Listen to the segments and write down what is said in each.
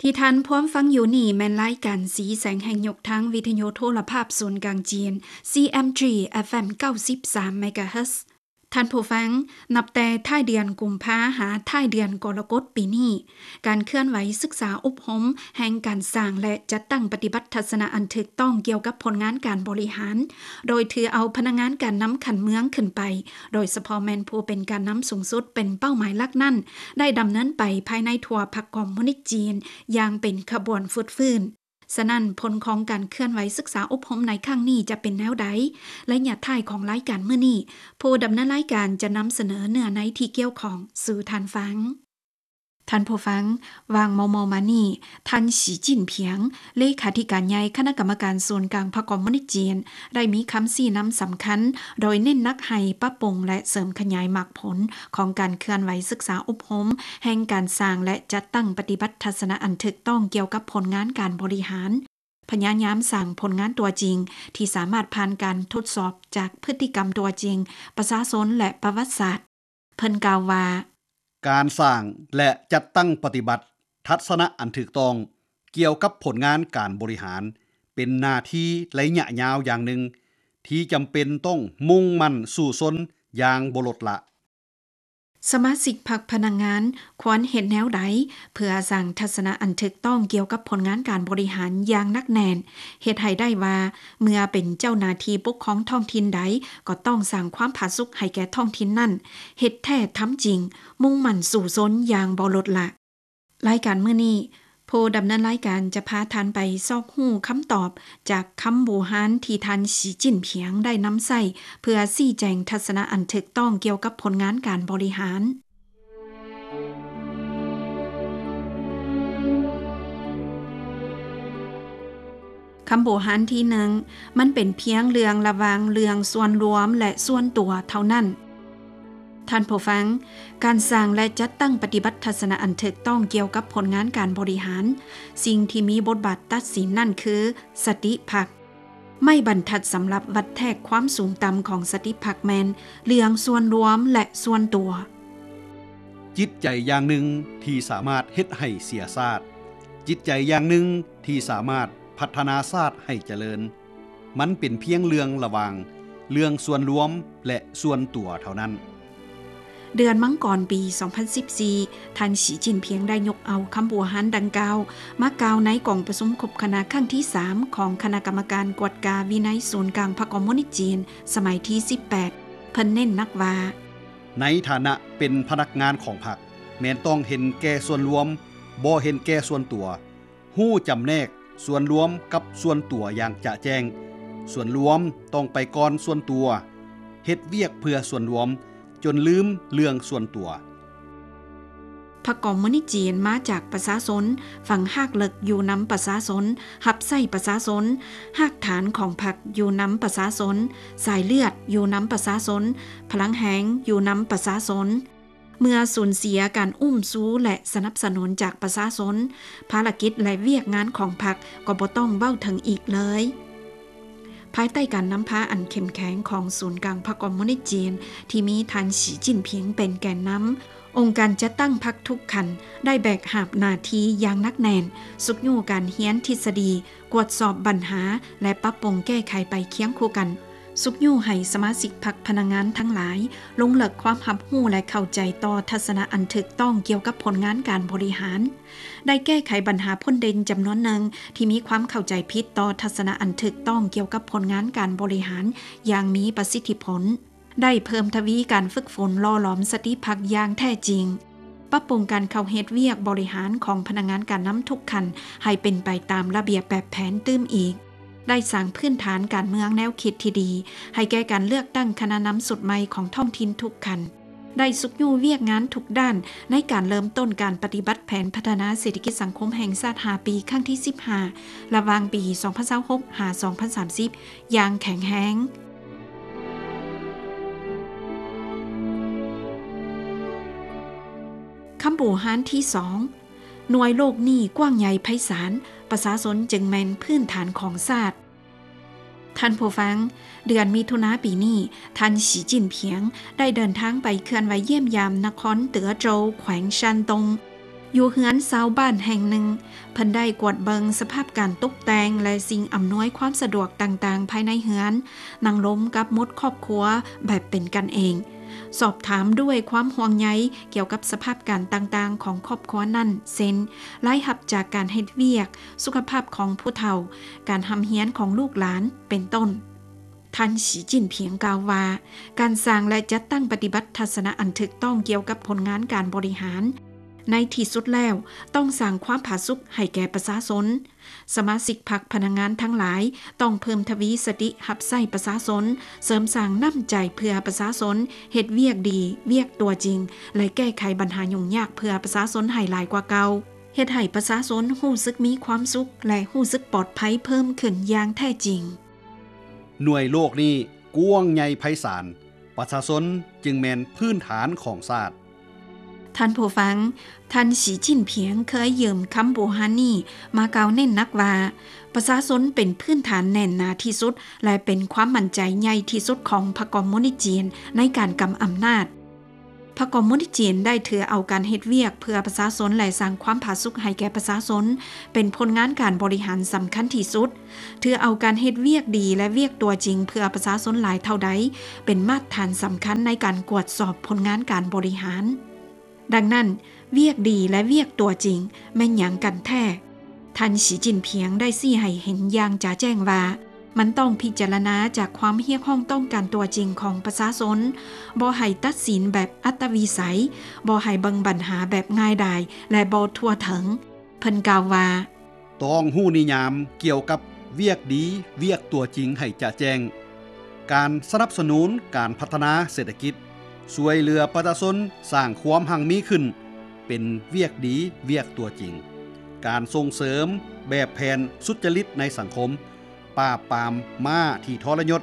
ທີ່ທ່ານພວມຟັງຢູ່ນີ້ແມ່ນລາຍການສີແສງແຫ່ງຍຸກທາງວິທະຍຸໂທລະພາບສູນກາງຈີນ CMG FM ເກົ້າສິບສາມ MHz. ທ່ານຜູ້ຟັງ, ນັບແຕ່ທ້າຍເດືອນກຸມພາຫາທ້າຍເດືອນກໍລະກົດປີນີ້, ການເຄື່ອນໄຫວສຶກສາອົບຮົມແຫ່ງການສ້າງ ແລະ ຈັດຕັ້ງປະຕິບັດທັດສະນະອັນຖືກຕ້ອງກ່ຽວກັບຜົນງານການບໍລິຫານ, ໂດຍຖືເອົາພະນັກງານການນຳຂັ້ນເມືອງຂຶ້ນໄປ, ໂດຍສະເພາະແມ່ນຜູ້ເປັນການນຳສູງສຸດເປັນເປົ້າໝາຍຫຼັກນັ້ນ, ໄດ້ດຳເນີນໄປພາຍໃນທົ່ວພັກຄອມມູນິດຈີນຢ່າງເປັນຂະບວນຟືດຟື້ນ. ສະນັ້ນ, ຜົນຂອງການເຄື່ອນໄຫວສຶກສາອົບຮົມໃນຄັ້ງນີ້ຈະເປັນແນວໃດ? ໄລຍະທ້າຍຂອງລາຍການມື້ນີ້, ຜູ້ດຳເນີນລາຍການຈະນຳສະເໜີເນື້ອໃນທີ່ກ່ຽວຂ້ອງສູ່ທ່ານຟັງ. ທ່ານຜູ້ຟັງ, ຫວ່າງມໍ່ໆມານີ້, ທ່ານ ສີຈິ້ນຜິງ ເລຂາທິການໃຫຍ່ຄະນະກຳມະການສູນກາງພັກຄອມມູນິດຈີນ ໄດ້ມີຄຳຊີ້ນຳສຳຄັນ, ໂດຍເນັ້ນໜັກໃຫ້ປັບປຸງ ແລະ ເສີມຂະຫຍາຍໝາກຜົນຂອງການເຄື່ອນໄຫວສຶກສາອົບຮົມແຫ່ງການສ້າງ ແລະ ຈັດຕັ້ງປະຕິບັດທັດສະນະອັນຖືກຕ້ອງກ່ຽວກັບຜົນງານການບໍລິຫານ, ພະຍາຍາມສ້າງຜົນງານຕົວຈິງທີ່ສາມາດຜ່ານການທົດສອບຈາກພຶດຕິກຳຕົວຈິງ, ປະຊາຊົນ ແລະ ປະຫວັດສາດ. ເພິ່ນກ່າວວ່າ, ການສ້າງ ແລະ ຈັດຕັ້ງປະຕິບັດທັດສະນະອັນຖືກຕ້ອງກ່ຽວກັບຜົນງານການບໍລິຫານ ເປັນໜ້າທີ່ໄລຍະຍາວຢ່າງໜຶ່ງ ທີ່ຈຳເປັນຕ້ອງມຸ່ງໝັ້ນສູ້ຊົນຢ່າງບໍ່ລົດລະ. ສະມາຊິກພັກພະນັກງານຄວນເຮັດແນວໃດ ເພື່ອສ້າງທັດສະນະອັນຖືກຕ້ອງກ່ຽວກັບຜົນງານການບໍລິຫານຢ່າງໜັກແໜ້ນ, ເຮັດໃຫ້ໄດ້ວ່າ ເມື່ອເປັນເຈົ້າໜ້າທີ່ປົກຄອງທ້ອງຖິ່ນໃດ ກໍຕ້ອງສ້າງຄວາມຜາສຸກໃຫ້ແກ່ທ້ອງຖິ່ນນັ້ນ, ເຮັດແທ້ທຳຈິງ, ມຸ່ງໝັ້ນສູ້ຊົນຢ່າງບໍ່ລົດລະ. ລາຍການມື້ນີ້, ຜູ້ດຳເນີນລາຍການຈະພາທ່ານໄປຊອກຮູ້ຄຳຕອບຈາກຄຳບູຮານທີ່ທ່ານ ສີຈິ້ນຜິງ ໄດ້ນຳໃຊ້ ເພື່ອຊີ້ແຈງທັດສະນະອັນຖືກຕ້ອງກ່ຽວກັບຜົນງານການບໍລິຫານ. ຄຳບູຮານທີໜຶ່ງ, ມັນເປັນພຽງເລື່ອງລະຫວ່າງເລື່ອງສ່ວນລວມ ແລະ ສ່ວນຕົວເທົ່ານັ້ນ. ທ່ານຜູ້ຟັງ, ການສ້າງ ແລະ ຈັດຕັ້ງປະຕິບັດທັດສະນະອັນຖືກຕ້ອງກ່ຽວກັບຜົນງານການບໍລິຫານ, ສິ່ງທີ່ມີບົດບາດຕັດສິນນັ້ນຄືສະຕິພັກ. ໄມ້ບັນທັດສຳລັບວັດແທກຄວາມສູງຕ່ຳຂອງສະຕິພັກແມ່ນເລື່ອງສ່ວນລວມ ແລະ ສ່ວນຕົວ. ຈິດໃຈຢ່າງໜຶ່ງທີ່ສາມາດເຮັດໃຫ້ເສຍຊາດ, ຈິດໃຈຢ່າງໜຶ່ງທີ່ສາມາດພັດທະນາຊາດໃຫ້ຈະເລີນ. ມັນເປັນພຽງເລື່ອງລະຫວ່າງເລື່ອງສ່ວນລວມ ແລະ ສ່ວນຕົວເທົ່ານັ້ນ. ເດືອນມັງກອນປີສອງພັນສິບສີ່, ທ່ານ ສີຈິ້ນຜິງ ໄດ້ຍົກເອົາຄຳບູຮານດັ່ງກ່າວມາກ່າວໃນກອງປະຊຸມຄົບຄະນະຄັ້ງທີສາມຂອງຄະນະກຳມະການກວດກາວິໄນສູນກາງພັກຄອມມູນິດຈີນສະໄໝທີສິບແປດ. ເພິ່ນເນັ້ນໜັກວ່າ, ໃນຖານະເປັນພະນັກງານຂອງພັກ, ແມ່ນຕ້ອງເຫັນແກ່ສ່ວນລວມ, ບໍ່ເຫັນແກ່ສ່ວນຕົວ. ຮູ້ຈຳແນກສ່ວນລວມກັບສ່ວນຕົວຢ່າງຈະແຈ້ງ. ສ່ວນລວມຕ້ອງໄປກ່ອນສ່ວນຕົວ. ເຮັດວຽກເພື່ອສ່ວນລວມຈົນລືມເລື່ອງສ່ວນຕົວ. ພັກຄອມມູນິດຈີນມາຈາກປະຊາຊົນ, ຝັງຮາກເລິກຢູ່ນຳປະຊາຊົນ, ຮັບໃຊ້ປະຊາຊົນ, ຮາກຖານຂອງພັກຢູ່ນຳປະຊາຊົນ, ສາຍເລືອດຢູ່ນຳປະຊາຊົນ, ພະລັງແຮງຢູ່ນຳປະຊາຊົນ. ເມື່ອສູນເສຍການອຸ້ມຊູ ແລະ ສະໜັບສະໜູນຈາກປະຊາຊົນ, ພາລະກິດ ແລະ ວຽກງານຂອງພັກກໍບໍ່ຕ້ອງເວົ້າເຖິງອີກເລີຍ. ພາຍໃຕ້ການນຳພາອັນເຂັ້ມແຂງຂອງສູນກາງພັກຄອມມູນິດຈີນ ທີ່ມີທ່ານ ສີຈິ້ນຜິງ ເປັນແກນນຳ, ອົງການຈັດຕັ້ງພັກທຸກຂັ້ນໄດ້ແບກຫາບໜ້າທີ່ຢ່າງໜັກແໜ້ນ, ຊຸກຍູ້ການຮຽນທິດສະດີ, ກວດສອບບັນຫາ ແລະ ປັບປຸງແກ້ໄຂໄປຄຽງຄູ່ກັນ. ຊຸກຍູ້ໃຫ້ສະມາຊິກພັກພະນັກງານທັງຫຼາຍ ລົງເລິກຄວາມຮັບຮູ້ ແລະ ເຂົ້າໃຈຕໍ່ທັດສະນະອັນຖືກຕ້ອງກ່ຽວກັບຜົນງານການບໍລິຫານ, ໄດ້ແກ້ໄຂບັນຫາພົ້ນເດັ່ນຈຳນວນໜຶ່ງທີ່ມີຄວາມເຂົ້າໃຈຜິດຕໍ່ທັດສະນະອັນຖືກຕ້ອງກ່ຽວກັບຜົນງານການບໍລິຫານຢ່າງມີປະສິດທິຜົນ, ໄດ້ເພີ່ມທະວີການຝຶກຝົນຫຼໍ່ຫຼອມສະຕິພັກຢ່າງແທ້ຈິງ. ປັບປຸງການເຂົ້າເຮັດວຽກບໍລິຫານຂອງພະນັກງານການນຳທຸກຂັ້ນໃຫ້ເປັນໄປຕາມລະບຽບແບບແຜນຕື່ມອີກ, ໄດ້ສ້າງພື້ນຖານການເມືອງແນວຄິດທີ່ດີໃຫ້ແກ່ການເລືອກຕັ້ງຄະນະນຳຊຸດໃໝ່ຂອງທ້ອງຖິ່ນທຸກຂັ້ນ, ໄດ້ຊຸກຍູ້ວຽກງານທຸກດ້ານໃນການເລີ່ມຕົ້ນການປະຕິບັດແຜນພັດທະນາເສດຖະກິດສັງຄົມແຫ່ງຊາດຫ້າປີ ຄັ້ງທີສິບຫ້າ ລະຫວ່າງປີສອງພັນຊາວຫົກ ຫາ ສອງພັນສາມສິບ ຢ່າງແຂງແຮງ. ຄຳບູຮານທີສອງ, ໜ່ວຍໂລກນີ້ກວ້າງໃຫຍ່ໄພສານ, ປະຊາຊົນຈຶ່ງແມ່ນພື້ນຖານຂອງຊາດ. ທ່ານຜູ້ຟັງ, ເດືອນມິຖຸນາປີນີ້, ທ່ານ ສີຈິ້ນຜິງ ໄດ້ເດີນທາງໄປເຄື່ອນໄຫວຢ້ຽມຢາມນະຄອນເຕີອໂຈວ ແຂວງຊານຕົງ. ຢູ່ເຮືອນຊາວບ້ານແຫ່ງໜຶ່ງ, ເພິ່ນໄດ້ກວດເບິ່ງສະພາບການຕົກແຕ່ງ ແລະ ສິ່ງອຳນວຍຄວາມສະດວກຕ່າງໆພາຍໃນເຮືອນ, ນັ່ງລົມກັບໝົດຄອບຄົວແບບເປັນກັນເອງ, ສອບຖາມດ້ວຍຄວາມຫ່ວງໃຍກ່ຽວກັບສະພາບການຕ່າງໆຂອງຄອບຄົວນັ້ນ ເຊັ່ນ ລາຍຮັບຈາກການເຮັດວຽກ, ສຸຂະພາບຂອງຜູ້ເຖົ້າ, ການຮ່ຳຮຽນຂອງລູກຫຼານ ເປັນຕົ້ນ. ທ່ານ ສີຈິ້ນຜິງ ກ່າວວ່າ ການສ້າງ ແລະ ຈັດຕັ້ງປະຕິບັດທັດສະນະອັນຖືກຕ້ອງກ່ຽວກັບຜົນງານການບໍລິຫານ ໃນທີ່ສຸດແລ້ວ ຕ້ອງສ້າງຄວາມຜາສຸກໃຫ້ແກ່ປະຊາຊົນ. ສະມາຊິກພັກພະນັກງານທັງຫຼາຍ ຕ້ອງເພີ່ມທະວີສະຕິຮັບໃຊ້ປະຊາຊົນ, ເສີມສ້າງນ້ຳໃຈເພື່ອປະຊາຊົນ, ເຮັດວຽກດີ, ວຽກຕົວຈິງ ແລະ ແກ້ໄຂບັນຫາຫຍຸ້ງຍາກເພື່ອປະຊາຊົນໃຫ້ຫຼາຍກວ່າເກົ່າ, ເຮັດໃຫ້ປະຊາຊົນຮູ້ສຶກມີຄວາມສຸກ ແລະ ຮູ້ສຶກປອດໄພເພີ່ມຂຶ້ນຢ່າງແທ້ຈິງ. ໜ່ວຍໂລກນີ້ກວ້າງໃຫຍ່ໄພສານ, ປະຊາຊົນຈຶ່ງແມ່ນພື້ນຖານຂອງຊາດ. ທ່ານຜູ້ຟັງ, ທ່ານ ສີຈິ້ນຜິງ ເຄີຍຢືມຄຳບູຮານນີ້ມາກ່າວເນັ້ນໜັກວ່າ ປະຊາຊົນເປັນພື້ນຖານແໜ້ນໜາທີ່ສຸດ ແລະ ເປັນຄວາມໝັ້ນໃຈໃຫຍ່ທີ່ສຸດຂອງພັກຄອມມູນິດຈີນໃນການກຳອຳນາດ. ພັກຄອມມູນິດຈີນໄດ້ຖືເອົາການເຮັດວຽກເພື່ອປະຊາຊົນ ແລະ ສ້າງຄວາມຜາສຸກໃຫ້ແກ່ປະຊາຊົນ ເປັນຜົນງານການບໍລິຫານສຳຄັນທີ່ສຸດ, ຖືເອົາການເຮັດວຽກດີ ແລະ ວຽກຕົວຈິງເພື່ອປະຊາຊົນຫຼາຍເທົ່າໃດ ເປັນມາດຖານສຳຄັນໃນການກວດສອບຜົນງານການບໍລິຫານ. ດັ່ງນັ້ນ, ວຽກດີ ແລະ ວຽກຕົວຈິງ ແມ່ນຫຍັງກັນແທ້? ທ່ານ ສີຈິ້ນຜິງ ໄດ້ຊີ້ໃຫ້ເຫັນຢ່າງຈະແຈ້ງວ່າ ມັນຕ້ອງພິຈາລະນາຈາກຄວາມຮຽກຮ້ອງຕ້ອງການຕົວຈິງຂອງປະຊາຊົນ, ບໍ່ໃຫ້ຕັດສິນແບບອັດຕະວິໄສ, ບໍ່ໃຫ້ເບິ່ງບັນຫາແບບງ່າຍດາຍ ແລະ ບໍ່ທົ່ວເຖິງ. ເພິ່ນກ່າວວ່າ, ຕ້ອງຮູ້ນິຍາມກ່ຽວກັບວຽກດີ, ວຽກຕົວຈິງໃຫ້ຈະແຈ້ງ. ການສະໜັບສະໜູນການພັດທະນາເສດຖະກິດ, ຊ່ວຍເຫຼືອປະຊາຊົນສ້າງຄວາມຮັ່ງມີຂຶ້ນ ເປັນວຽກດີ, ວຽກຕົວຈິງ. ການສົ່ງເສີມແບບແຜນສຸດຈະລິດໃນສັງຄົມ, ປາບປາມມ້າທີ່ທໍລະຍົດ,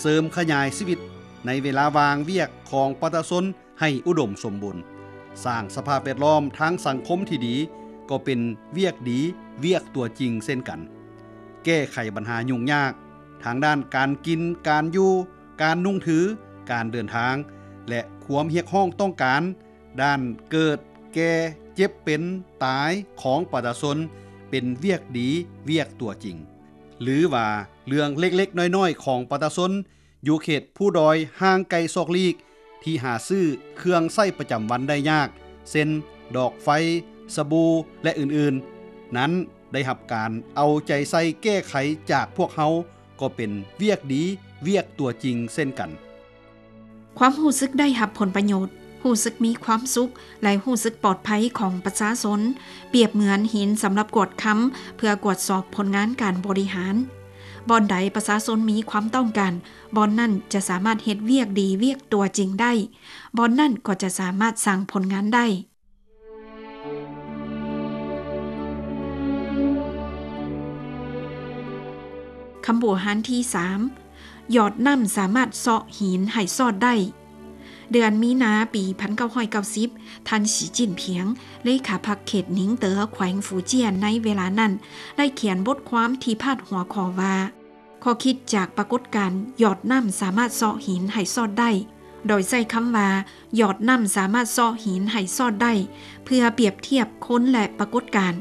ເສີມຂະຫຍາຍຊີວິດໃນເວລາວ່າງວຽກຂອງປະຊາຊົນ ໃຫ້ອຸດົມສົມບູນ, ສ້າງສະພາບແວດລ້ອມທາງສັງຄົມທີ່ດີ ກໍເປັນວຽກດີ, ວຽກຕົວຈິງເຊັ່ນກັນ. ແກ້ໄຂບັນຫາຫຍຸ້ງຍາກທາງດ້ານການກິນ, ການຢູ່, ການນຸ່ງຖື, ການເດີນທາງ ແລະ ຄວາມຮຽກຮ້ອງຕ້ອງການດ້ານເກີດ, ແກ່, ເຈັບ, ເປັນ, ຕາຍຂອງປະຊາຊົນ ເປັນວຽກດີ, ວຽກຕົວຈິງ. ຫຼືວ່າເລື່ອງເລັກໆນ້ອຍໆຂອງປະຊາຊົນ ຢູ່ເຂດພູດອຍຫ່າງໄກຊອກຫຼີກ ທີ່ຫາຊື້ເຄື່ອງໃຊ້ປະຈຳວັນໄດ້ຍາກ ເຊັ່ນ ດອກໄຟ, ສະບູ ແລະ ອື່ນໆນັ້ນ ໄດ້ຮັບການເອົາໃຈໃສ່ແກ້ໄຂຈາກພວກເຮົາ ກໍເປັນວຽກດີ, ວຽກຕົວຈິງເຊັ່ນກັນ. ຄວາມຮູ້ສຶກໄດ້ຮັບຜົນປະໂຫຍດ, ຮູ້ສຶກມີຄວາມສຸກ ແລະ ຮູ້ສຶກປອດໄພຂອງປະຊາຊົນ ປຽບເໝືອນຫີນສຳລັບກວດຄຳ ເພື່ອກວດສອບຜົນງານການບໍລິຫານ. ບ່ອນໃດປະຊາຊົນມີຄວາມຕ້ອງການ, ບ່ອນນັ້ນຈະສາມາດເຮັດວຽກດີ, ວຽກຕົວຈິງໄດ້, ບ່ອນນັ້ນກໍຈະສາມາດສ້າງຜົນງານໄດ້. ຄຳບູຮານທີສາມ, ຢອດນ້ຳສາມາດເຊາະຫີນໃຫ້ຊອດໄດ້. ເດືອນມີນາປີພັນເກົ້າຮ້ອຍເກົ້າສິບ, ທ່ານ ສີຈິ້ນຜິງ ເລຂາພັກເຂດໜິງເຕີ ແຂວງຟູຈຽນ ໃນເວລານັ້ນ ໄດ້ຂຽນບົດຄວາມທີ່ພາດຫົວຂໍ້ວ່າ ຂໍ້ຄິດຈາກປາກົດການຢອດນ້ຳສາມາດເຊາະຫີນໃຫ້ຊອດໄດ້, ໂດຍໃຊ້ຄຳວ່າ ຢອດນ້ຳສາມາດເຊາະຫີນໃຫ້ຊອດໄດ້ ເພື່ອປຽບທຽບຄົນ ແລະ ປາກົດການ.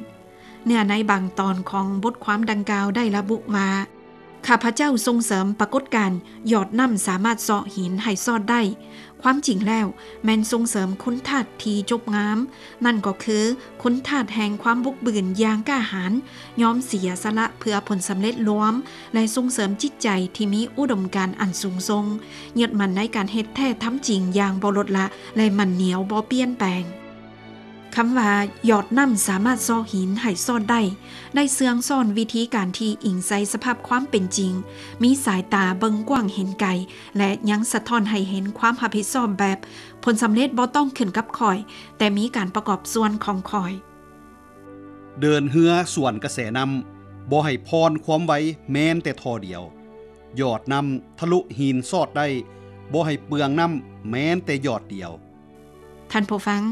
ເນື້ອໃນບາງຕອນຂອງບົດຄວາມດັ່ງກ່າວໄດ້ລະບຸວ່າ ຂ້າພະເຈົ້າສົ່ງເສີມປາກົດການຢອດນ້ຳສາມາດເຊາະຫີນໃຫ້ຊອດໄດ້. ຄວາມຈິງແລ້ວແມ່ນສົ່ງເສີມຄຸນທາດທີ່ຈົບງາມ, ນັ້ນກໍຄືຄຸນທາດແຫ່ງຄວາມບຸກບືນຢ່າງກ້າຫານ, ຍອມເສຍສະຫຼະເພື່ອຜົນສຳເລັດລວມ ແລະ ສົ່ງເສີມຈິດໃຈທີ່ມີອຸດົມການອັນສູງສົ່ງ, ຍຶດໝັ້ນໃນການເຮັດແທ້ທຳຈິງຢ່າງບໍ່ລົດລະ ແລະ ໝັ້ນໜຽວບໍ່ປ່ຽນແປງ. ຄຳວ່າ ຢອດນ້ຳສາມາດເຊາະຫີນໃຫ້ຊອດໄດ້ ໄດ້ເຊື່ອງຊ້ອນວິທີການທີ່ອີງໃສ່ສະພາບຄວາມເປັນຈິງ, ມີສາຍຕາເບິ່ງກວ້າງເຫັນໄກ ແລະ ຍັງສະທ້ອນໃຫ້ເຫັນຄວາມຮັບຜິດຊອບແບບ ຜົນສຳເລັດບໍ່ຕ້ອງຂຶ້ນກັບຂ້ອຍ, ແຕ່ມີການປະກອບສ່ວນຂອງຂ້ອຍ. ເດີນເຮືອສວນກະແສນ້ຳ, ບໍ່ໃຫ້ຜ່ອນຄວາມໄວແມ່ນແຕ່ທໍ່ດຽວ. ຢອດນ້ຳທະລຸຫີນຊອດໄດ້, ບໍ່ໃຫ້ເປືອງນ້ຳແມ່ນແຕ່ຢອດດຽວ. ທ່ານຜູ້ຟັງ,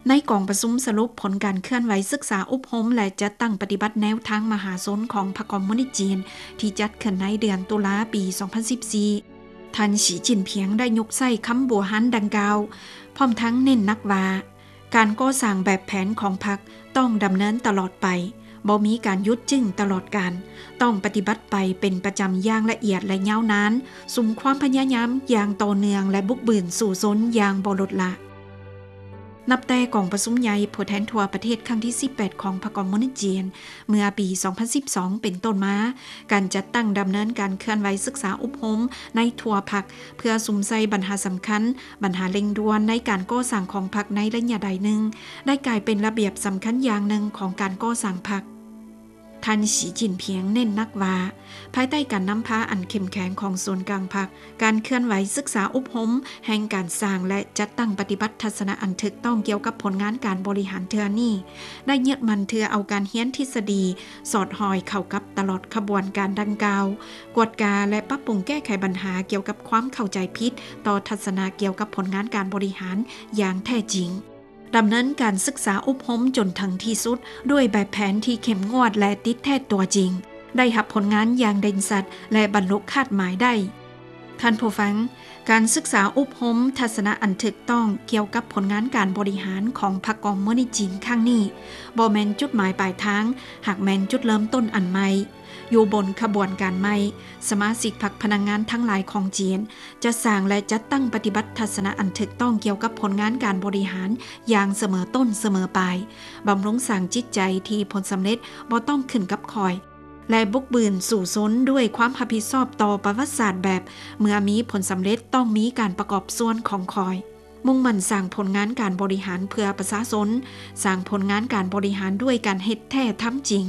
ໃນກອງປະຊຸມສະຫຼຸບຜົນການເຄື່ອນໄຫວສຶກສາອົບຮົມ ແລະ ຈັດຕັ້ງປະຕິບັດແນວທາງມະຫາຊົນຂອງພັກຄອມມູນິດຈີນ ທີ່ຈັດຂຶ້ນໃນເດືອນຕຸລາປີສອງພັນສິບສີ່ ທ່ານ ສີຈິ້ນຜິງ ໄດ້ຍົກໃຊ້ຄຳບູຮານດັ່ງກ່າວ, ພ້ອມທັງເນັ້ນໜັກວ່າ ການກໍ່ສ້າງແບບແຜນຂອງພັກຕ້ອງດຳເນີນຕະຫຼອດໄປ, ບໍ່ມີການຢຸດຢັ້ງຕະຫຼອດການ, ຕ້ອງປະຕິບັດໄປເປັນປະຈຳຢ່າງລະອຽດ ແລະ ຍາວນານ, ສຸມຄວາມພະຍາຍາມຢ່າງຕໍ່ເນື່ອງ ແລະ ບຸກບືນສູ້ຊົນຢ່າງບໍ່ລົດລະ. ນັບແຕ່ກອງປະຊຸມໃຫຍ່ຜູ້ແທນທົ່ວປະເທດຄັ້ງທີສິບແປດຂອງພັກຄອມມູນິດຈີນ ເມື່ອປີສອງພັນສິບສອງເປັນຕົ້ນມາ, ການຈັດຕັ້ງດຳເນີນການເຄື່ອນໄຫວສຶກສາອົບຮົມໃນທົ່ວພັກ ເພື່ອສຸມໃສ່ບັນຫາສຳຄັນ, ບັນຫາເລັ່ງດ່ວນໃນການກໍ່ສ້າງຂອງພັກໃນໄລຍະໃດໜຶ່ງ ໄດ້ກາຍເປັນລະບຽບສຳຄັນຢ່າງໜຶ່ງຂອງການກໍ່ສ້າງພັກ. ທ່ານ ສີ ຈິ້ນຜິງ ເນັ້ນໜັກວ່າ, ພາຍໃຕ້ການນຳພາອັນເຂັ້ມແຂງຂອງສູນກາງພັກ, ການເຄື່ອນໄຫວສຶກສາອົບຮົມ, ແຫ່ງການສ້າງ ແລະ ຈັດຕັ້ງປະຕິບັດທັດສະນະອັນຖືກຕ້ອງກ່ຽວກັບຜົນງານການບໍລິຫານເທື່ອນີ້ ໄດ້ຍຶດໝັ້ນຖືເອົາການຮຽນທິດສະດີສອດຮອຍເຂົ້າກັບຕະຫຼອດຂະບວນການດັ່ງກ່າວ, ກວດກາ ແລະ ປັບປຸງແກ້ໄຂບັນຫາກ່ຽວກັບຄວາມເຂົ້າໃຈຜິດຕໍ່ທັດສະນະກ່ຽວກັບຜົນງານການບໍລິຫານຢ່າງແທ້ຈິງ. ດຳເນີນການສຶກສາອົບຮົມຈົນເຖິງທີ່ສຸດດ້ວຍແບບແຜນທີ່ເຂັ້ມງວດ ແລະ ຕິດແທດຕົວຈິງ, ໄດ້ຮັບຜົນງານຢ່າງເດັ່ນຊັດ ແລະ ບັນລຸຄາດໝາຍໄດ້. ທ່ານຜູ້ຟັງ, ການສຶກສາອົບຮົມທັດສະນະອັນຖືກຕ້ອງກ່ຽວກັບຜົນງານການບໍລິຫານຂອງພັກຄອມມູນິດຈີນຄັ້ງນີ້ ບໍ່ແມ່ນຈຸດໝາຍປາຍທາງ, ຫາກແມ່ນຈຸດເລີ່ມຕົ້ນອັນໃໝ່. ຢູ່ບົນຂະບວນການໃໝ່, ສະມາຊິກພັກພະນັກງານທັງຫຼາຍຂອງຈີນ ຈະສ້າງ ແລະ ຈັດຕັ້ງປະຕິບັດທັດສະນະອັນຖືກຕ້ອງກ່ຽວກັບຜົນງານການບໍລິຫານຢ່າງສະເໝີຕົ້ນສະເໝີປາຍ, ບຳລຸງສ້າງຈິດໃຈທີ່ຜົນສຳເລັດບໍ່ຕ້ອງຂຶ້ນກັບຂ້ອຍ ແລະ ບຸກບືນສູ້ຊົນດ້ວຍຄວາມຮັບຜິດຊອບຕໍ່ປະຫວັດສາດແບບ ເມື່ອມີຜົນສຳເລັດຕ້ອງມີການປະກອບສ່ວນຂອງຂ້ອຍ. ມຸ່ງໝັ້ນສ້າງຜົນງານການບໍລິຫານເພື່ອປະຊາຊົນ, ສ້າງຜົນງານການບໍລິຫານດ້ວຍການເຮັດແທ້ທຳຈິງ,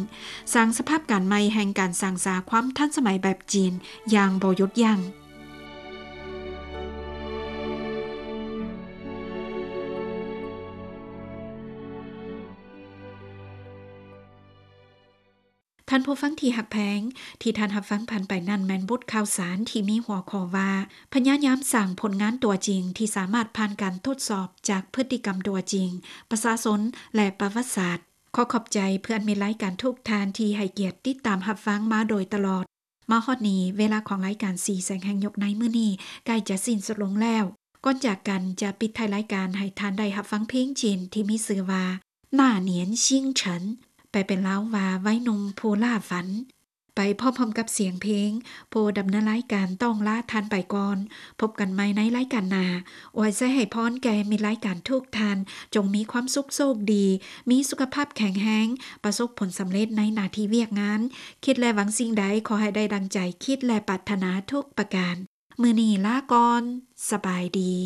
ສ້າງສະພາບການໃໝ່ແຫ່ງການສ້າງສາຄວາມທັນສະໄໝແບບຈີນຢ່າງບໍ່ຢຸດຢັ້ງ. ທ່ານຜູ້ຟັງທີ່ຮັກແພງ, ທີ່ທ່ານຮັບຟັງຜ່ານໄປນັ້ນແມ່ນບົດຂ່າວສານທີ່ມີຫົວຂໍ້ວ່າ ພະຍາຍາມສ້າງຜົນງານຕົວຈິງທີ່ສາມາດຜ່ານການທົດສອບຈາກພຶດຕິກຳຕົວຈິງ, ປະຊາຊົນ ແລະ ປະຫວັດສາດ. ຂໍຂອບໃຈເພື່ອນມິດລາຍການທຸກທ່ານທີ່ໃຫ້ກຽດຕິດຕາມຮັບຟັງມາໂດຍຕະຫຼອດ. ມາຮອດນີ້, ເວລາຂອງລາຍການສີແສງແຫ່ງຍຸກໃນມື້ນີ້ໃກ້ຈະສິ້ນສຸດລົງແລ້ວ. ກ່ອນຈາກກັນ, ຈະປິດທ້າຍລາຍການໃຫ້ທ່ານໄດ້ຮັບຟັງເພງຈີນທີ່ມີຊື່ວ່າ ໜ້າໜຽນຊິງເສີນ ແປເປັນລາວວ່າ ໄວໜຸ່ມຜູ້ລ່າຝັນ. ໄປພ້ອມໆກັບສຽງເພງ, ຜູ້ດຳເນີນລາຍການຕ້ອງລາທ່ານໄປກ່ອນ. ພົບກັນໃໝ່ໃນລາຍການໜ້າ. ອວຍໄຊໃຫ້ພອນແກ່ມິດລາຍການທຸກທ່ານ, ຈົ່ງມີຄວາມສຸກໂຊກດີ, ມີສຸຂະພາບແຂງແຮງ, ປະສົບຜົນສຳເລັດໃນໜ້າທີ່ວຽກງານ. ຄິດ ແລະ ຫວັງສິ່ງໃດ, ຂໍໃຫ້ໄດ້ດັ່ງໃຈຄິດ ແລະ ປາດຖະໜາທຸກປະການ. ມື້ນີ້ລາກ່ອນ. ສະບາຍດີ.